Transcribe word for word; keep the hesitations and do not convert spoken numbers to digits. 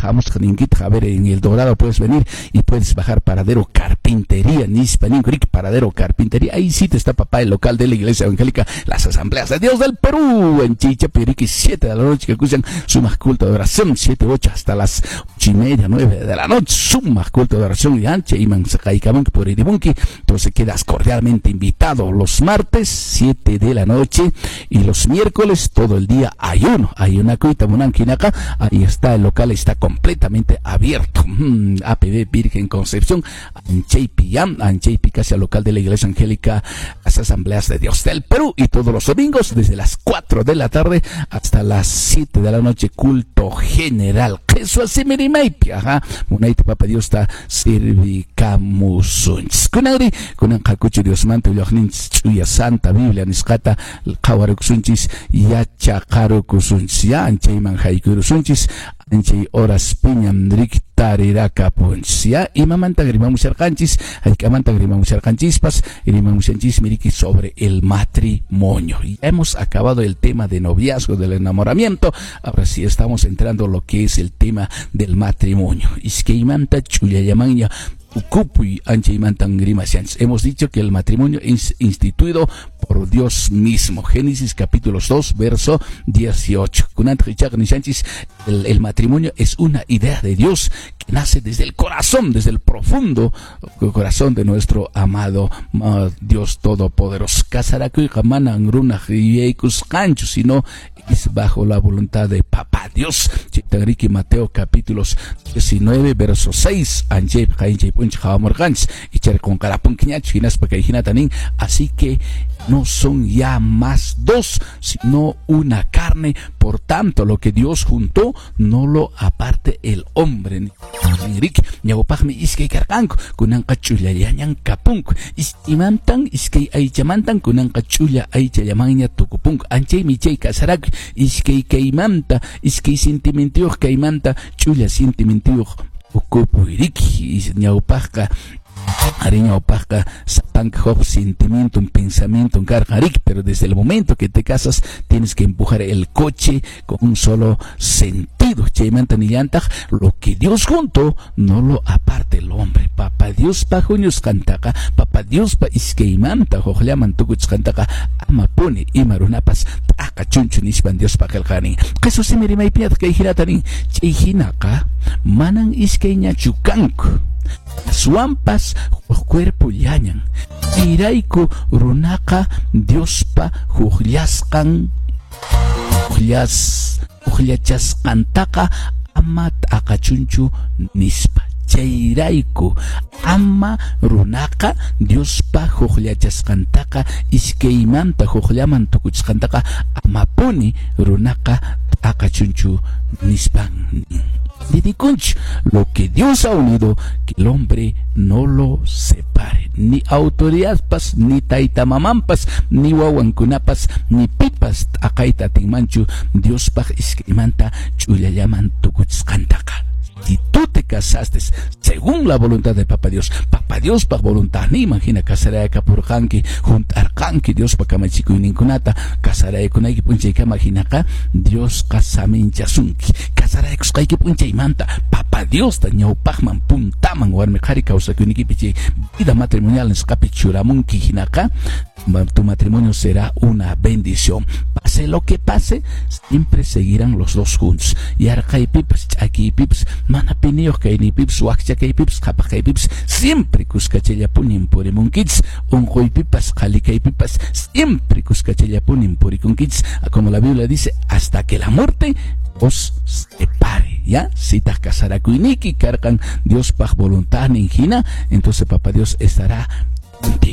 Hamusaq ninkitaq, a ver, en El Dorado puedes venir y puedes bajar paradero Carpintería, nispa ninku, paradero Carpintería, ahí sí te está, papá, el local de la Iglesia Evangélica Las Asambleas de Dios del Perú, en Chicha Piriqui, siete de la noche, que escuchan sumaq culto de oración, siete, ocho hasta las ocho y media, nueve de la noche, sumaq culto de oración, y ancha, y por entonces quedas cordialmente invitado los martes, siete de la noche, y los miércoles, todo el día, ayuno, ayunakuyta munanki hinaqa, ahí está, el local está completamente abierto. Mm, A P B Virgen Concepción, Anchaypi, Anchaypi, casi al local de la Iglesia Evangélica Las Asambleas de Dios del Perú, y todos los domingos, desde las cuatro de la tarde hasta las siete de la noche, culto general. Jesús ajá, munayta Papa Diosta servikamusunchis. Kunanri, kunan hakuchu Diosmanta willaqninchis ch'uya Santa Biblia nisqata qhawarukusunchis, yachaqarukusunchis, ya anchayman haykurusunchis, anchay horas piñam riki tarirakapunchis, ya imamanta rimamusharqanchis, hayk'amanta rimamusharqanchispas, rimamushanchismi riki sobre el matrimonio. Ya hemos acabado el tema de noviazgo, del enamoramiento, ahora sí estamos entrando lo que es el tema del matrimonio. Iskaymanta ch'ullallamanña tukupuy anchaymantan rimashanchis. Hemos dicho que el matrimonio es instituido por Dios mismo. Génesis capítulo dos, verso dieciocho. El, el matrimonio es una idea de Dios que nace desde el corazón, desde el profundo corazón de nuestro amado Dios Todopoderoso. Kasarakuyqa manan runaq yuyaykusqanchu, sino es bajo la voluntad de Papá Dios. Chaytan Mateo capítulos diecinueve, verso seis. Anchay qayinchay p'unchay qhawamurqanchis. Ichari qunqarapunkiñachu hinaspa kay hinata nin. Así que no son ya más dos, sino una carne. Por tanto, lo que Dios juntó, no lo aparte el hombre. Riki, ñawpaqmi iskay karqanku, kunanqa ch'ullallañan kapunku. Imantan iskay aychamantan kunanqa ch'ulla aychallamanña tukupunku. Anchaymi chay kasarakuy iskay kaymanta, iskay sentimientuyuq kaymanta ch'ulla sentimientuyuq tukupuy riki. Ñawpaqqa ari ñawpaqqa sapanka huk sentimiento, un pensamiento karqa riki, pero desde el momento que te casas tienes que empujar el coche con un solo sentido. Chaymanta nillantaq, lo que Dios juntó, no lo aparte el hombre. Papa Diospa huñusqantaqa, Papa Diospa iskaymanta hukllaman tukuchisqantaqa amapuni ima runapas t'aqachunchu nispan Diospa qillqanin. Qhichwa simi rimaypiñataq kay hinata nin, chay hinaqa manan iskayñachu kanku, aswanpas huk cuerpollañan. Chayrayku runaqa Diospa hukllasqan hukllas hukllachasqantaqa ama t'aqachunchu nispa. Chayrayku ama runaqa Diospa hukllachasqantaqa iskaymanta hukllaman tukuchisqantaqa amapuni runaqa t'aqachunchu nispan. Lo que Dios ha unido, que el hombre no lo separe. Ni autoridadpas, ni tayta mamanpas, ni wawankunapas, ni pipas t'aqayta atinmanchu Diospaq iskaymanta ch'ullallaman tukuchisqantaqa. Si tú te casaste según la voluntad de Papá Dios, Papá Diospaq voluntadninman hina kasaraykapurqanki, hunt'arqanki Diospa kamachikuyninkunata, kasaraykunayki p'unchaykama hinaqa Diosqa saminchasunki. Kasaraykusqayki p'unchaymanta Papá Diosta ñawpaqman puntaman warmi qhari kawsakuynikipi chay vida matrimonial nisqapi churamunki hinaqa tu matrimonio será una bendición. Pase lo que pase, siempre seguirán los dos juntos. Yarqaypipas, ch'akiypipas, mana piniyuq kaynipipas, wakcha kaypipas, qhapaq kaypipas, siempre kuskachallapunin purimunkichis. Unquypipas, qhali kaypipas, siempre kuskachallapunin purikunkichis. Como la Biblia dice, hasta que la muerte os separe, ¿ya? Si taq kasarakuyniki karqan Diospaq voluntadnin hina, entonces Papá Dios estará contigo.